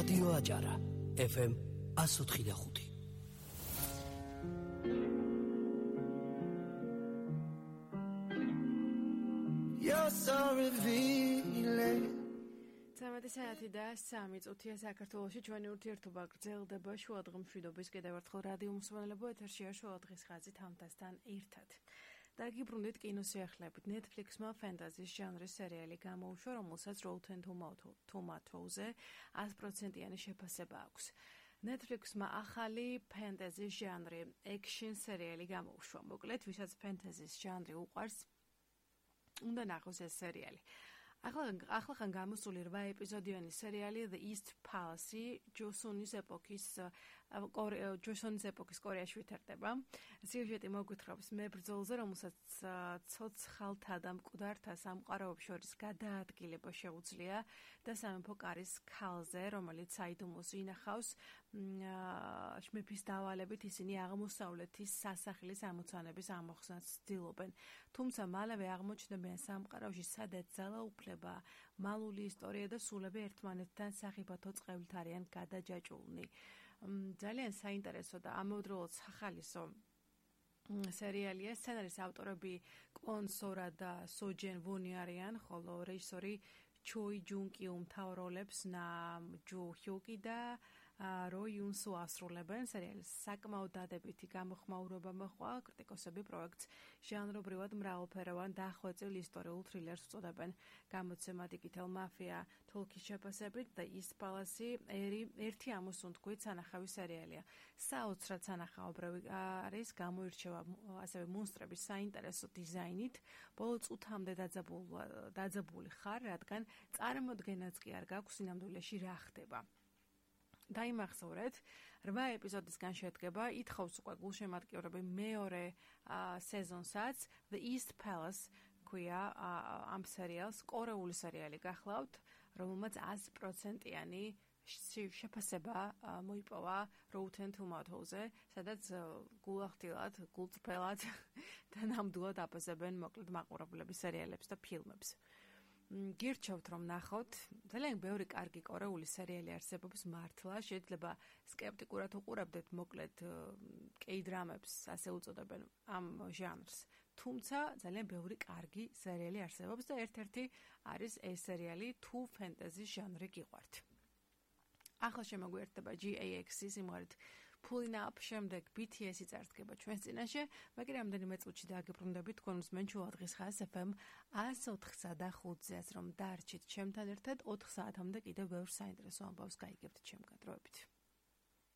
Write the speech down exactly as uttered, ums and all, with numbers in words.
რადიო აჭარა ეფ ემ one oh five point five. You're so revealing. სამი საათი და სამი წუთია საქართველოში ჩვენი ურთიერთობა გრძელდება შუადღე მშვიდობის კიდევ ერთხელ რადიო მსმენელებო ეთერშია შუადღის ხაზი თამთასთან ერთად. დაგიბრუნდით კინოსიახლეებით. Netflix-მა ფენტაზის ჟანრის სერიალი გამოუშვა, რომელსაც Rotten Tomatoes-ზე one hundred percent-იანი შეფასება აქვს. Netflix-მა ახალი ფენტაზის ჟანრი action სერიალი გამოუშვა. მოკლედ, ვისაც ფენტაზის ჟანრი უყვარს, უნდა ნახოს ეს სერიალი. ახლახან გამოსული რვა ეპიზოდიანი სერიალი The East Palace ჯოსონის ეპოქის ჯოსონის ეპოქის კორეაში ვითარდება. სიუჟეტი მოგვითხრობს მებრძოლზე, რომელსაც ცოცხალთა და მკვდართა სამყაროებს შორის გადაადგილება შეუძლია და სამეფო კარის ქალზე, რომელიც საიდუმლოს ინახავს, მეფის დავალებით ისინი აღმოსავლეთის სასახლის ამოცანების ამოხსნას ცდილობენ. თუმცა მალევე აღმოჩნდებიან სამყაროში, სადაც ძალაუფლება, მალული ისტორია და სულები ერთმანეთთან სახიფათო წყევლით არიან გადაჯაჭვულნი. ძალიან საინტერესო და ამავდროულად სახალისო სერიალია. სცენარის ავტორები კონ სორა და სოჯენ ვონი არიან, ხოლო რეჟისორი ჩოი ჯუნ კიუ მთავარ როლებს ნამ ჯო ჰიოკი და რო იუნსო ასრულებენ. სერიალის საკმაოდ დადებითი გამოხმაურება მოჰყვა. კრიტიკოსები პროექტს ჟანრობრივად მრავალფეროვან დახვეწილ ისტორიულ თრილერს უწოდებენ. გამოცემად იკითელ მაფია თოლქის შეფასებით და East Palace ერთი ამოსუნთქვით სანახავი სერიალია. საოცრად სანახაობრივი არის, გამოირჩევა ასევე მონსტრების საინტერესო დიზაინით. ბოლო წუთამდე დაძაბული ხარ, რადგან წარმოდგენაც კი არ გაქვს სინამდვილეში რა ხდება. დაიმახსოვრეთ, რვა ეპიზოდისგან შედგება, ითხოვს უკვე გულშემატკივრები მეორე სეზონსაც. The East Palace ქვია ამ სერიალს, კორეული სერიალი გახლავთ, რომელმაც one hundred percent-იანი შეფასება მოიპოვა Rotten Tomatoes-ზე, სადაც გულახდილად, გულწრფელად და ნამდვილად აფასებენ მოკლედ მაყურებლების სერიალებს და ფილმებს. გირჩევთ რომ ნახოთ, ძალიან ბევრი კარგი კორეული სერიალი არსებობს მართლა, შეიძლება სკეპტიკურად უყურებდეთ მოკლედ კეიდრამებს, ასე უწოდებენ ამ ჟანრს. თუმცა ძალიან ბევრი კარგი სერიალი არსებობს და ერთ-ერთი არის ეს სერიალი, თუ ფენტაზის ჟანრი გიყვართ. ახლა შემოგვიერთდება ჯი ეი ექს-ის სიმღერით Pulling Up, შემდეგ ბი თი ესი წარსდგება ჩვენს წინაშე, მაგრამ რამდენიმე წუთში დაგიბრუნდებით თქვენ უსმენ შუადღის ხაზს ეფ ემ one oh five point five-ზე, რომ დარჩით ჩემთან ერთად ოთხ საათამდე კიდევ ბევრ საინტერესო ამბავს გაიგებთ ჩემ კადროებში.